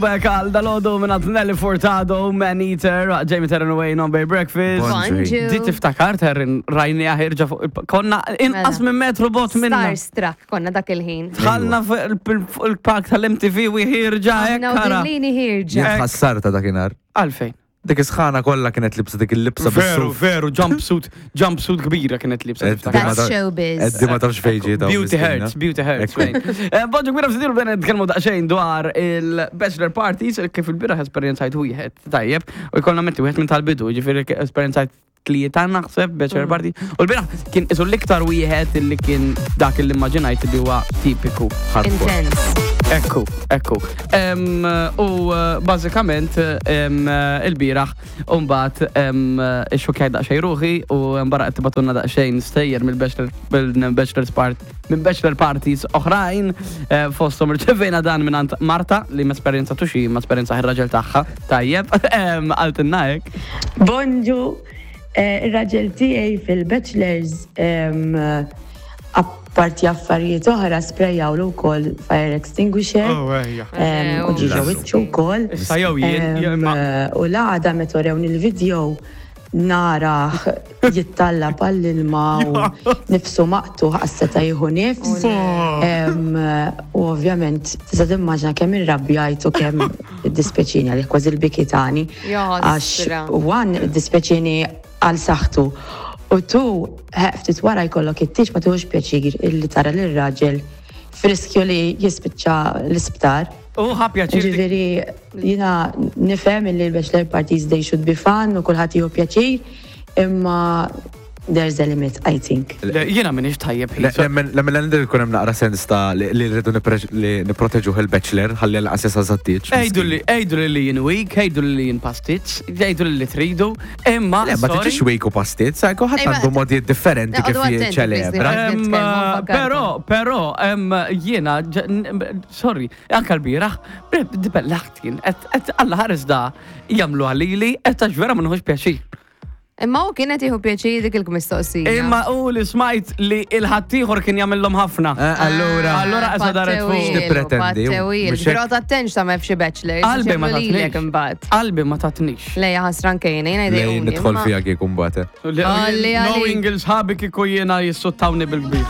Back għal dalodu minn Nelly Furtado, Man Eater, Jamie Terran Away, Non Bay Breakfast. Bonġu. Di tiftakar Terran rajni ħirġa fuq il- konna inqas Mela. minn metru bot minna. Starstruck konna dak il-ħin. Dħalna fuq il-park tal-MTV u ħirġa hekk Aħna u ara. dillini ħirġa. Jien ħassarta dakinhar. Għalfejn. Dik is-sħana kollha kienet libsa dik il-libsa Veru, bis-suf. veru, jumpsuit, jumpsuit kbira kienet libsa. Eddi tiftakar. ma That's ta- showbiz. Eddi ma tafx fejn ġiet hawn Beauty miskina. hurts, beauty hurts. Ekku. fejn. Eh, Bonġu kbira f'sidiru bdejna nitkellmu daqsxejn dwar il-bachelor parties, kif il-bieraħ esperjenzajt wieħed tajjeb, u jkollna metti wieħed minn tal-bidu, ġifieri esperjenzajt tlieta naħseb bachelor party. U l-bieraħ kien isu l-iktar wieħed illi kien dak li immaġinajt li huwa tipiku. Hardcore. Intense. Ekku, ekku. Em, U eh, bażikament em, eh, il-bieraħ mbagħad ixxukkjajt daqsxejn ruħi u mbara qed tibatunna daqsxejn stejjer mill-bachelor mill-bachelor's part minn bachelor parties oħrajn eh, fosthom irċevejna dan minn Marta li ma esperjenza tuxi ma esperjenza ir-raġel tagħha tajjeb em, qaltilna hekk. Bonġu, eh, ir-raġel tiegħi fil-bachelors em, apparti affarijiet oħra sprejjawlu wkoll fire extinguisher Oh, ejja. em, u ġiġa wiċċu wkoll. Issa jew jien jew Em, imma U l-għada meta orewni l-video narah jittalla għall-ilma u nifsu maqtu seta jieħu nifs. Em, U ovvjament tista' timmaġina kemm irrabjajt u kemm iddispjaċini għalih kważi l-bikitani. Għax Jaħasra. one iddispjaċini għal saħħtu u tu ftit wara jkollok it-tieġ ma tieħux pjaċir illi tara lir-raġel f'riskju li jispiċċa l-isptar. U ħa pjaċir dik- Ġifieri jiena nifhem illi l-bachelor parties they should be fun u kulħadd jieħu pjaċir, imma there's a limit, I think. Le, Jiena m'iniex tajjeb Le- ħin. Nemmen nemmen l-għandir ikun hemm naqra sens ta' li li rridu nipre- li nipproteġuh il-bachelor ħalli l-qas jasal sat-tieġ. Ejdu li, ejdu li li jien weak, ejdu li li jien pastizz, ejdu li li tridu, imma. Le, ma sorry. tiġix weak u pastizz, sa' ħadd Ej, ma- għandu modi differenti kif Noqogħdu attenti, jiċċelebra. please, Em, Nitkellmu, nfakkarkom. Però, però, em, jiena, ġ- n- sorry, anka l-bieraħ, dibellaħt jien, et alla ħares da jamlu għalili, et għax vera ma nħux pjaċir. Imma u kienet jieħu pjaċir dik il-mistoqsija. Imma u li smajt li il-ħaddieħor kien jagħmilhom ħafna. Eh, Allura, Allura qesa daret fuq. X'tippretendi? Mhux hekk? Però tattenx ta' f'xi bachelors. Qalbi ma lilek tatnix. imbagħad. Qalbi ma tatnix. Lejja ħasran kejna, jiena lej jdejquni. nidħol imma- fija kieku mbagħad. eh. Għalli, għalli. Knowing il-sħabi kieku jiena jissuttawni bil-kbir.